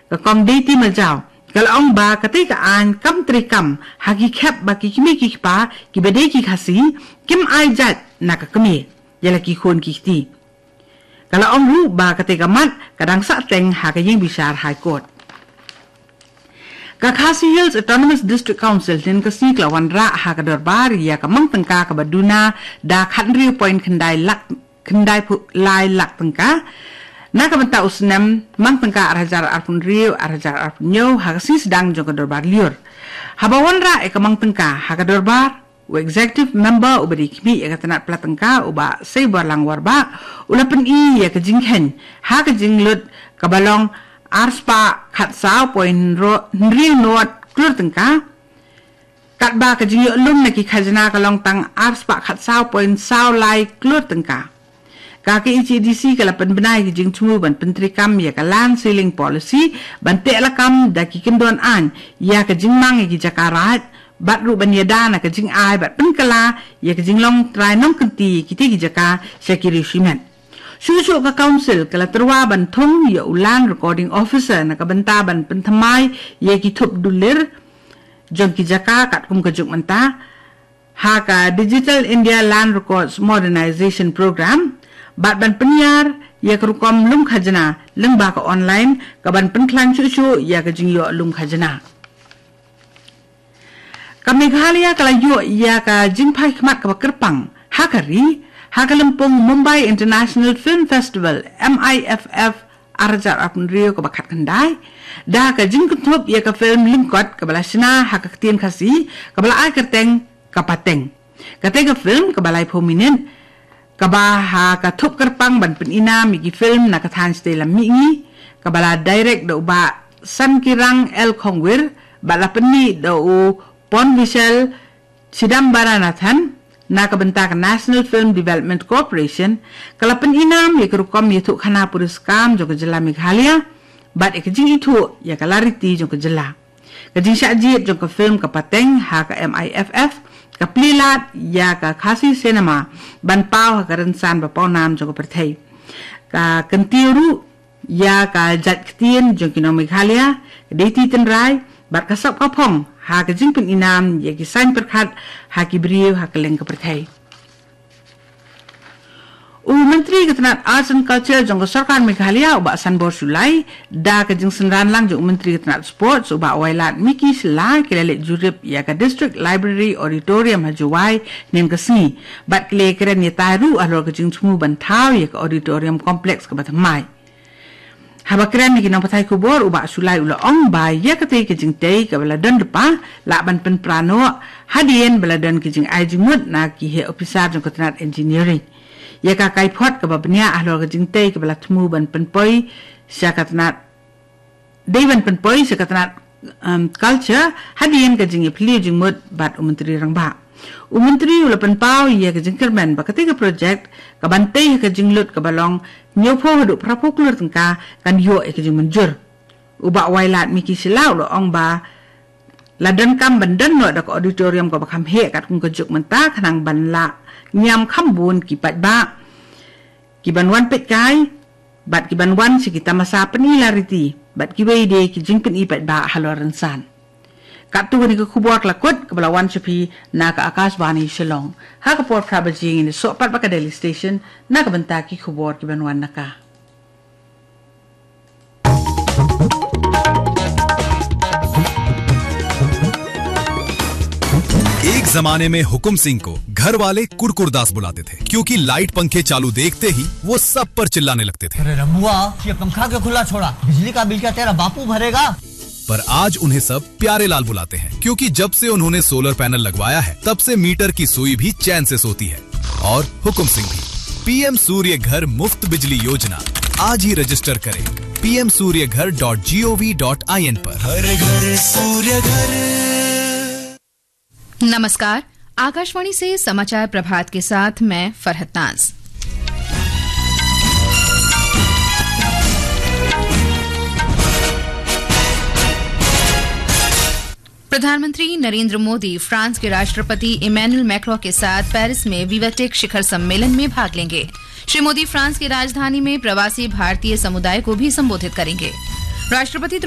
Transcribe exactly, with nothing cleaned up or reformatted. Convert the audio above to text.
Ka Kong Deiti Majaw ka la ong ba katei ka aiñ kam treikam ha ki khep ba ki kmie ki kpa kiba dei ki Khasi kim ai jait na ka kmie ïa la ki khun ki kti. Ka la ong ruh ba katei ka mat ka dang sah teng ha ka ïing bishar High Court. Ka Khasi Hills Autonomous District Council hynnin ka sngi ka la wanrah ha ka dorbar ïa ka mang tyngka kaba duna da khathynriew point khyndai lak, khyndai phew lai lak tyngka na ka bynta u snem mang tyngka ar hajar arphew hynriew, ar hajar arphew hynñiew ha ka sngi sdang jong ka dorbar lyiur. Haba wanrah ïa ka mang tyngka ha ka dorbar, u executive member uba dei khmih ïa ka tnat pla tyngka u Bah Seiborlang Warbah u la pyni ïa ka jingkheiñ ha ka jinglut kaba long ar spah khatsaw point hynriew nod klur tyngka. Katba ka jingïoh lum na ki khajna ka long tang ar spah khatsaw point saw lai klur tyngka. Ka KHADC ka la pynbna ïa ka jingthmu ban pyntreikam ïa ka Land Ceiling Policy ban teh lakam da ki kyndon aiñ ïa ka jingmang ïa ki jaka raid bad ruh ban ïada na ka jingai bad pynkylla ïa ka jinglong trai nongkynti ïa kitei ki jaka sha ki riew shimet. Shuh shuh ka Council ka la tyrwa ban thung ïa u Land Recording Officer na ka bynta ban pynthymmai ïa ki thup dulir jong ki jaka katkum ka juk mynta ha ka Digital India Land Records Modernization Program bad ban pynïar ïa ka rukom lum khajna lyngba ka online ka ban pynkhlaiñ shuh shuh ïa ka jingïoh lum khajna. Ka Meghalaya ka la ïoh ïa ka jingphai khmat kaba kyrpang ha ka ri ha ka lympung Mumbai International Film Festival, M I F F, ar hajar arphew hynriew kaba khatkhyndai da ka jingkynthup ïa ka film lyngkot kaba la shna ha ka ktien Khasi kaba la ai kyrteng Ka Pateng. Katei ka film kaba laiphew minit kaba ha ka thup kyrpang ban pyni nam ïa ki film na ka thaiñ shatei lam mihngi, kaba la direct da u Bah Sankirang L Khongwir bad la pynmih da u Ponvishal Chidambaranathan na ka bynta ka National Film Development Corporation, ka la pyni nam ïa ka rukom ïathuhkhana puriskam jong ka jylla Meghalaya bad ïa ka jingithuh ïa ka lariti jong ka jylla. Ka jingshah jied jong ka film Ka Pateng ha ka M I F F ka plie lad ïa ka Khasi cinema ban paw ha ka rynsan ba pawnam jong ka pyrthei. Ka kyntiew ruh ïa ka jait ktien jong ki nong Meghalaya, ka deiti tynrai bad ka sap ka phong ha ka jingpyni nam ïa ki saiñ pyrkhat ha ki briew ha kylleng ka pyrthei. U Myntri ka tnat Arts and Culture jong ka Sorkar Meghalaya u Bah Sanbor Shullai, da ka jingsynran lang jong u Myntri ka tnat Sports u Bah Wailadmiki Shylla, ki la leit jurip ïa ka District Library Auditorium ha Jowai hynnin ka sngi bad ki la kren ïatai ruh halor ka jingthmu ban thaw ïa ka auditorium complex kaba thymmai. Haba kren ïa ki nongpathai khubor u Bah Shullai u la ong ba ïa katei ka jingtei kaba la don lypa lah ban pynpra noh hadien ba la don ka jingai jingmut na ki heh ophisar jong ka tnat engineering. Ïa ka kaiphod kaba bniah halor ka jingtei kaba la thmu ban pynpoi sha ka tnat, dei ban pynpoi sha ka tnat, um, culture hadien ka jingïaphylliew jingmut bad u Myntri Rangbah. U Myntri u la pynpaw ïa ka jingkyrmen ba katei ka project kaban tei ha ka jinglut kaba long hynñiewphew haduh phraphew klur tyngka kan ïoh ïa ka jingmynjur. U Bah Wailadmiki Shylla u la ong ba la donkam ban don noh da ka auditorium kaba kham heh katkum ka juk mynta khnang ban lah ñiam kham bun ki paidbah kiban wan peit kai bad kiban wan sha ki tamasa pyni lariti bad kiwei de ki jingpyni paidbah halor rynsan. Katto kane ka khubor ka la kut kaba la wan sha phi na ka Akashvani Shillong. Ha ka por phra baje ngin ïasoh pat bad ka Delhi Station na ka bynta ki khubor kiban wan na ka. एक जमाने में हुकुम सिंह को घर वाले कुरकुरदास बुलाते थे, क्योंकि लाइट पंखे चालू देखते ही वो सब पर चिल्लाने लगते थे। अरे रमुआ, ये पंखा क्यों खुला छोड़ा? बिजली का बिल क्या तेरा बापू भरेगा? पर आज उन्हें सब प्यारे लाल बुलाते हैं, क्योंकि जब से उन्होंने सोलर पैनल लगवाया है, तब से मीटर की सुई भी चैन से सोती है। और हुकुम सिंह भी। पीएम सूर्य घर मुफ्त बिजली योजना, आज ही रजिस्टर करें पीएम सूर्य घर डॉट जीओवी डॉट आईएन पर। हर घर सूर्य घर। नमस्कार, आकाशवाणी से समाचार प्रभात के साथ मैं फरहत नाज। प्रधानमंत्री नरेंद्र मोदी फ्रांस के राष्ट्रपति इमैनुअल मैक्रों के साथ पेरिस में विवेटेक शिखर सम्मेलन में भाग लेंगे। श्री मोदी फ्रांस की राजधानी में प्रवासी भारतीय समुदाय को भी संबोधित करेंगे। राष्ट्रपति